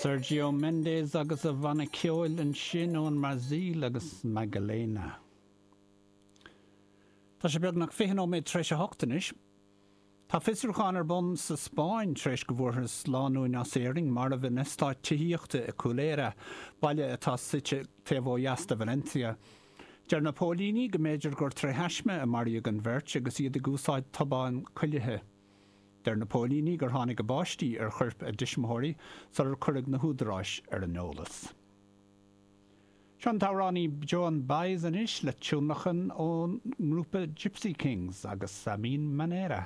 Sergio Mendes agus a bhanna ceoil ansin ón mBrasaíl agus Madalena. Tá sé beagnach 20 nóiméad tar éis a hocht anois. Tá fiosrúchán ar bun sa Spáinn tar éis go bhfuarthas lánúin as Éirinn marbh in eastát tithíochta i Cullera, baile atá suite taobh ó dheas de Valencia. Deir na póilíní go mb'fhéidir gur tré thaisme a maraíodh an bheirt agus iad ag úsáid tobán cuilithe. Deir na póilíní gur tháinig a bpáistí ar choirp a dtuismitheoirí sular cuireadh na húdaráis ar an eolas. Seo an t-amhránaí Joan Baez anois le tionlacan ón ngrúpa Gipsy Kings agus A Mi Manera.